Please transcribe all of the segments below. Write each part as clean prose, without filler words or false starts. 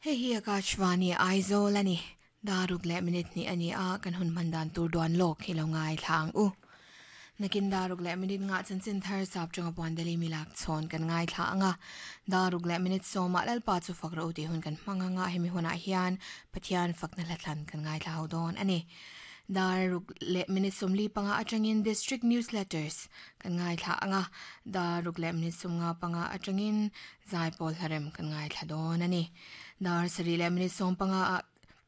Hei hi Akashvani Aizawl a ni. Daruk leh minute hnih a ni a, kan hun hman dan tur duan lawk hi lo ngaithla ang u. Nakin daruk leh minute ngah chanchin thar sap chunga puan Delhi milak chhawn kan ngaithla ang a. Daruk leh minute sawmah Lalpa chu fak rawh u tih hun kan hmang ang a, hemi hunah hian Pathian fakna hla thlan kan ngaithla ho dawn a ni. Daruk leh minute 45 atangin District Newsletters kan ngaithla ang a, daruk leh minute 55 atangin Zaipawl hlarem kan ngaithla dawn a ni. Dar sarih leh minute 15 ah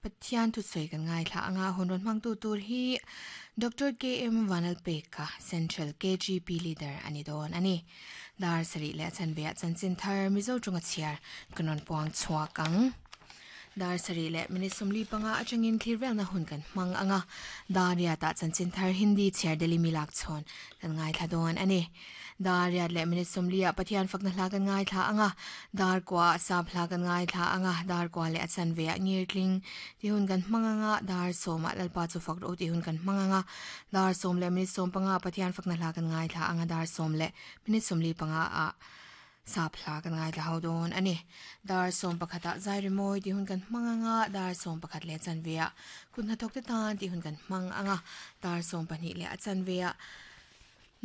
Pathian thusawi kan ngaithla anga hun rawn hmangtu tur hi Doctor KM Vanlalpeka, Central KGP Leader a ni dawn a ni. Dar sarih leh a chanve ah chanchin thar Mizo tawnga chhiar kan rawn puang chhuak ang. Dar sarih leh minute 45 atangin thlir velna hun kan hmang anga dar riat ah chanchin thar Hindi chhiar Delhi mi lak chhawn kan ngaithla dawn a ni. Dar riat leh minute 40 ah Pathian fakna hla kan ngaithla anga, dar kua ah sap hla kan ngaithla anga, dar kua leh a chanve ah ngirtling tih hun kan hmang anga, dar sawm ah Lalpa chu fak rawh u tih hun kan hmang anga, dar sawm leh minute 15 ah Pathian fakna hla kan ngaithla anga, dar sawm leh minute 45 ah sap hla kan ngaithla ho dawn a ni. Dar 11 ah zai rimawi tih hun kan hmang anga, dar 11 leh a chanve ah kut hnathawk te tan tih hun kan hmang anga, dar 12 leh a chanve ah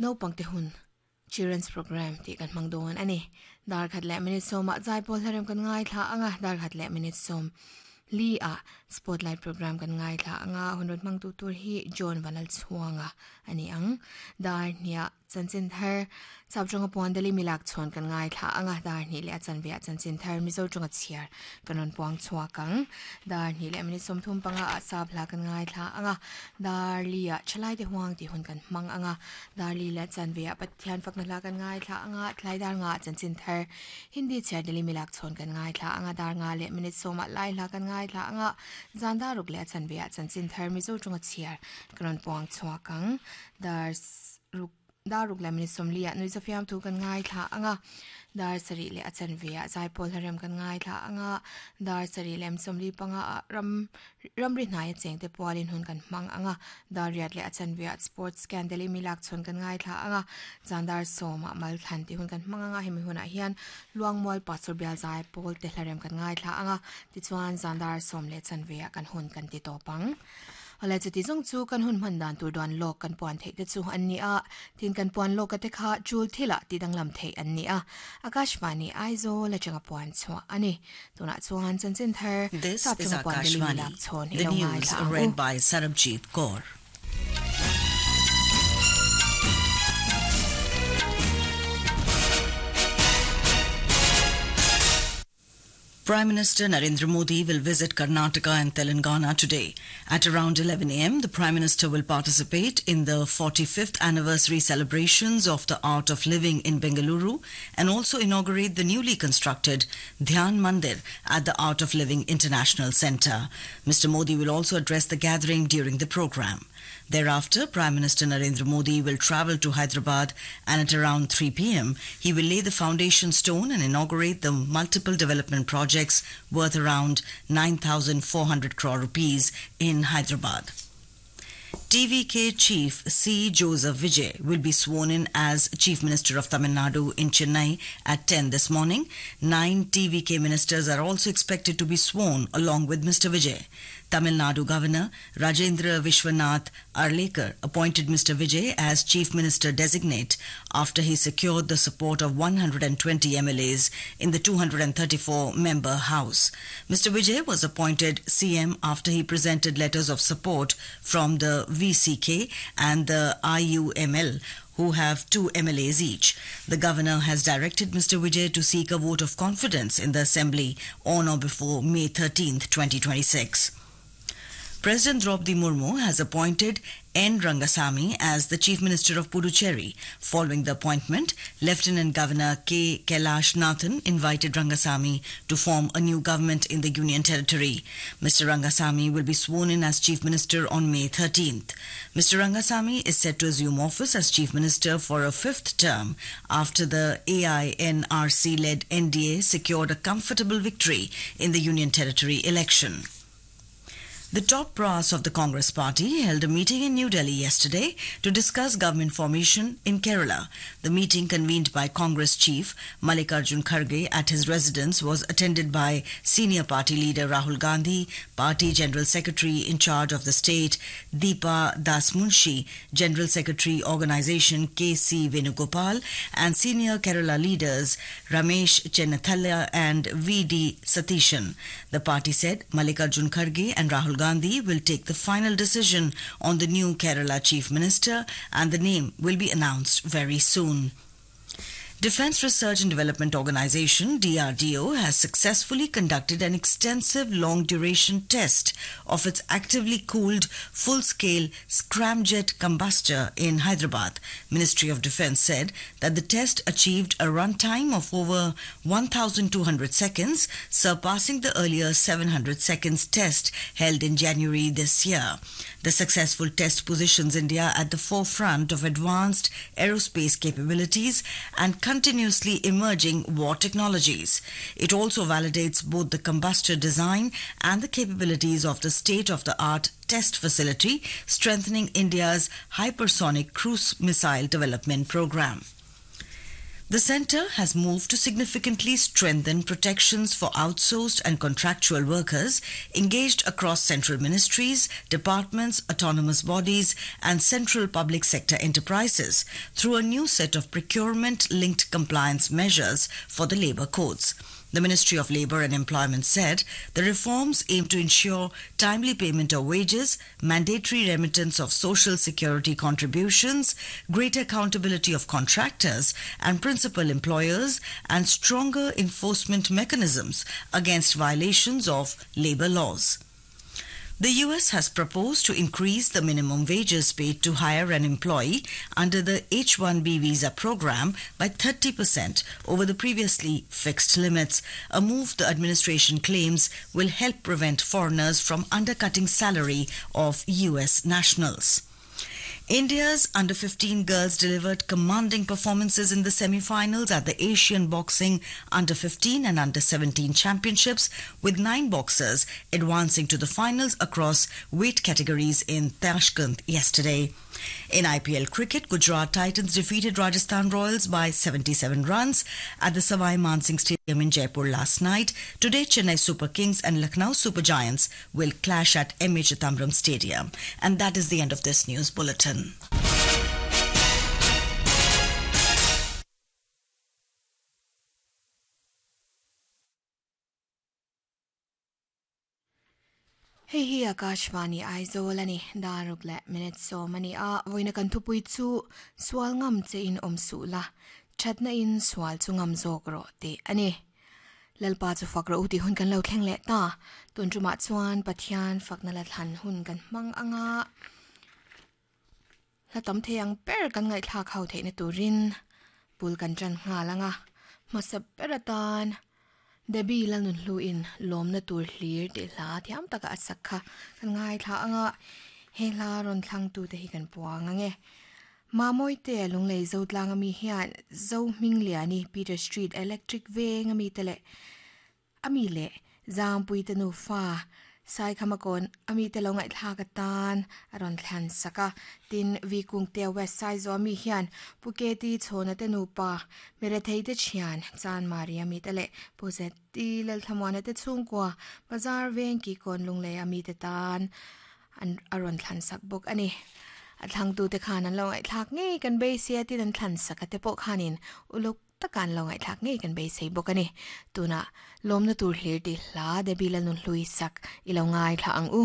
Naupangte hun Children's Programme tih kan hmang dawn a ni. Dar khat leh minute sawmah zaipawl hlarem kan ngaithla ang a, dar khat leh minute sawm li ah Spotlight Programme kan ngaithla ang a, hun rawn hmangtu tur hi John Vanlalchhuanga a ni ang. Dar hniah chanchin thar Sap tawnga puan Delhi milak chhawn kan ngaithla ang a, dar hnih leh a chanve ah chanchin thar Mizo tawnga chhiar kan rawn puang chhuak ang. Dar hnih leh minute 35 ah sap hla kan ngaithla ang a, dar li ah thalai te huang tih hun kan hmang ang a, dar li leh chanve ah Pathian fakna hla kan ngaithla ang a, thlai dar nga ah chanchin thar Hindi chhiar Delhi milak chhawn kan ngaithla ang a, dar nga leh minute 10 ah lai hla kan ngaithla ang a, zan dar ruk leh a chanve ah chanchin thar Mizo tawnga chhiar kan rawn puang chhuak ang. Dar ruk. Dar ruk leh minute 40 ah nuihza fiamthu kan ngaithla ang a, dar sarih leh a chanve ah zaipawl hlarem kan ngaithla ang a, dar sarih leh 45 ah ram ramri hnaia chengte pualin hun kan hmang ang a, dar riat leh a chanve ah sports scan Delhi mi lak chhawn kan ngaithla ang a, zan dar 10 ah mal thlan tih hun kan hmang ang a, hemi hunah hian Luangmual Pastor bial zaipawl te hlarem kan ngaithla ang a, tichuan zan dar 10 leh chanve ah kan hun kan ti tawp ang. Awle chuti zawng chu kan hun hman dan tur duan lawk kan puan theih te chu an ni a, tin kan puan lawka te kha chul thilah ti danglam theih an ni a, Akashvani Aizawl atanga puan chhuah a ni. Tunah chuan chanchin thar This sap is chunga puan Delhi Akashvani, lak chhawn i the lo news ngaithla ang u. read by Sarabjit Kaur. Prime Minister Narendra Modi will visit Karnataka and Telangana today. At around 11 a.m., the Prime Minister will participate in the 45th anniversary celebrations of the Art of Living in Bengaluru and also inaugurate the newly constructed Dhyan Mandir at the Art of Living International Centre. Mr. Modi will also address the gathering during the program. Thereafter, Prime Minister Narendra Modi will travel to Hyderabad and at around 3 p.m., he will lay the foundation stone and inaugurate the multiple development projects worth around 9,400 crore rupees in Hyderabad. TVK Chief C. Joseph Vijay will be sworn in as Chief Minister of Tamil Nadu in Chennai at 10 this morning. 9 TVK ministers are also expected to be sworn along with Mr. Vijay. Tamil Nadu Governor Rajendra Vishwanath Arlekar appointed Mr. Vijay as Chief Minister designate after he secured the support of 120 MLAs in the 234-member House. Mr. Vijay was appointed CM after he presented letters of support from the VCK and the IUML, who have 2 MLAs each. The governor has directed Mr. Vijay to seek a vote of confidence in the assembly on or before May 13th, 2026. President Draupadi Murmu has appointed N. Rangasamy as the Chief Minister of Puducherry. Following the appointment, Lieutenant Governor K. Kailash Nathan invited Rangasamy to form a new government in the Union Territory. Mr. Rangasamy will be sworn in as Chief Minister on May 13th. Mr. Rangasamy is set to assume office as Chief Minister for a fifth term after the AINRC-led NDA secured a comfortable victory in the Union Territory election. The top brass of the Congress party held a meeting in New Delhi yesterday to discuss government formation in Kerala. The meeting convened by Congress chief Mallikarjun Kharge at his residence was attended by senior party leader Rahul Gandhi, party general secretary in charge of the state Deepa Dasmunshi, general secretary organization KC Venugopal and senior Kerala leaders Ramesh Chennithala and VD Satishan. The party said Mallikarjun Kharge and Rahul Gandhi will take the final decision on the new Kerala chief minister and the name will be announced very soon. Defense Research and Development Organization DRDO has successfully conducted an extensive long duration test of its actively cooled full scale scramjet combustor in Hyderabad. Ministry of Defense said that the test achieved a runtime of over 1200 seconds, surpassing the earlier 700 seconds test held in January this year. The successful test positions India at the forefront of advanced aerospace capabilities and continuously emerging war technologies. It also validates both the combustor design and the capabilities of the state of the art test facility, strengthening India's hypersonic cruise missile development program. The centre has moved to significantly strengthen protections for outsourced and contractual workers engaged across central ministries, departments, autonomous bodies, and central public sector enterprises through a new set of procurement linked compliance measures for the labour codes. The Ministry of Labour and Employment said the reforms aim to ensure timely payment of wages, mandatory remittance of social security contributions, greater accountability of contractors and principal employers, and stronger enforcement mechanisms against violations of labour laws. The US has proposed to increase the minimum wages paid to hire an employee under the H 1B visa program by 30% over the previously fixed limits, a move the administration claims will help prevent foreigners from undercutting salary of US nationals. India's under 15 girls delivered commanding performances in the semi-finals at the Asian Boxing Under 15 and Under 17 Championships, with 9 boxers advancing to the finals across weight categories in Tashkent yesterday. In IPL cricket, Gujarat Titans defeated Rajasthan Royals by 77 runs at the Savai Mansingh Stadium in Jaipur last night. Today, Chennai Super Kings and Lucknow Super Giants will clash at M.A. Chithambaram Stadium. And that is the end of this news bulletin. Hei hi Akashvani Aizawl a ni, daruk leh minute sawm a ni a, vawiina kan thupui chu sual ngam che in awm suh la, thatna in sual chu ngam zawk rawh tih a ni. Lalpa chu fak rawh u tih hun kan lo thleng leh ta, tun tumah chuan Pathian fakna la thlan hun kan hmang anga hla tam thei ang ber kan ngaihthlak ho theihna turin bul kan tan nghal anga hmasa ber atan Debbie Lalnunhluin lawmna tur hlir tih hla thiam taka a sak kha kan ngaithla anga he hla rawn thlangtute hi kan puang ang e. Mamawite Lunglei Zotlang ami hian Zohmingliani Peter Street Electric veng ami te leh ami leh Zangpuite nufa Saikhamakawn ami te lo ngaihthlak atan a rawn thlan sak a. Tin, Vikungte West Saizaw ami hian Pu Keti Chhawna te nupa Merethei te thian Chanmari ami te leh Pu Zeti Lalthlamuana te chhungkua Bazar veng Kikawn Lunglei ami te tan an a rawn thlan sak bawk a ni. A thlangtute khan an lo ngaihthlak ngei kan beisei a tin an thlan sak a te pawh khanin uluk taka an lo ngaihthlak ngei kan beisei bawk a ni. Tunah lawmna tur hlir tih hla Debbie Lalnunhlui sak i lo ngaithla ang u.